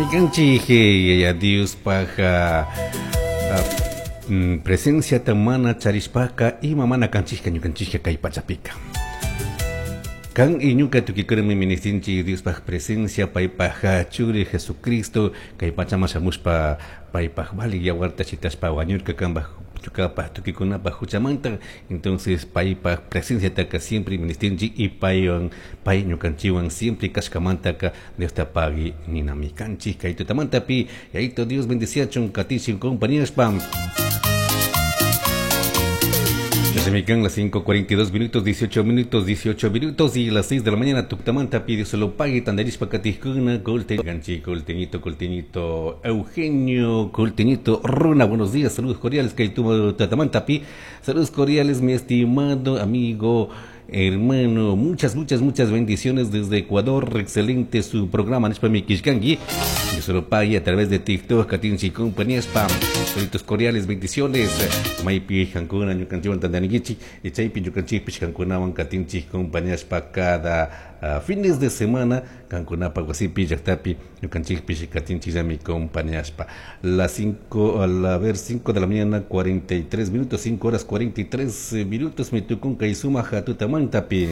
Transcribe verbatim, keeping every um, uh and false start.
Chashmikanchik Yaya Diospaj presenciata mana charishpaka ima mana kanchikka ñukanchikka kay pachapika. Kan y ñuka tukikurmi ministinchik Diospaj presencia paypaj churi Jesucristo kay pachaman shamushpa paypaj vali yawarta shitashpa wañurka kanpaj ñukapaj tukikunapaj huchamanta. Entonces paypaj presenciataka siempre ministinchik y paywan pay ñukanchikwan siempre kashkamantaka Diosta pagui ninami kanchik kay tutamantapi. Yayito Dios bendiciachun katichin compañerashpa. Se me quedan las cinco cuarenta y dos minutos, dieciocho minutos, dieciocho minutos y las seis de la mañana. Tuctamanta pide solo pague tandarishpa katijkuna, colte, ganchi, colteñito, colteñito, Eugenio, colteñito, Runa, buenos días, saludos cordiales, que tu tatamanta pi, saludos cordiales, mi estimado amigo, hermano, muchas, muchas, muchas bendiciones desde Ecuador, excelente su programa, Nishpa mi Kishkangi, yo solo pague a través de TikTok, Katinchi compañía, spam, saludos cordiales, bendiciones, Maipi, Hankuna, Ñukanchiwan, Tandanigichi, y Chaypi, Ñukanchi, Pishkankunawan, Katinchi compañía, spa, cada uh, fines de semana, Kankunapa, Guasipi, Yactapi, Ñukanchi, Pish, Katinchi, Yami, compañía, spa, las cinco, a la ver, cinco de la mañana, cuarenta y tres minutos, cinco horas, cuarenta y tres minutos, me tocó un Kaizuma, Jatutamán, Tapi.